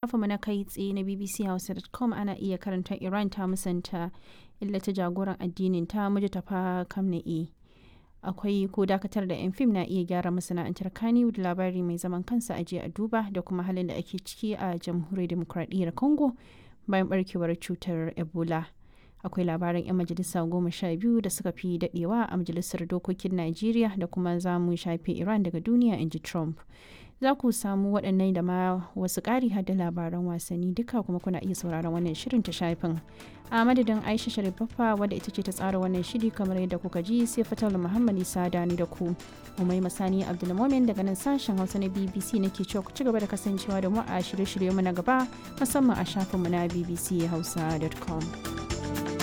Shafinmu na kai tsaye na bbchausa.com ana iya karanta Iran ta musanta illata jagoran addinin ta Mujtaba Khamenei. Akwai ko dakatar da 'yan fim na iya gyara masana'antar Kannywood labari mai zaman kansa a a duba da kuma halin da ake ciki a jamhuriyar demokradiyyar Congo bayan barkewar cutar Ebola. Akwai labaran 'yan majalisa 12 da suka fi dadewa a majalisar dokokin Najeriya da kuma za mu shafe Iran daga duniya in ji Trump. Za ku samu waɗannan da ma wasu ƙari har da labaran wasanni duka kuma kuna iya sauraron wannan shirin ta shafin. A madadin Aisha Sharif Baffa wadda ita ce ta tsara wannan shiri kamar yadda kuka ji sai Fatal Muhammad Isa Dani da ku. Umai Masani Abdulmomin daga nan sashen Hausa na BBC nake cewa ku ci gaba da kasancewa da mu a shirye-shiryenmu na gaba musamman a shafinmu na bbchausa.com.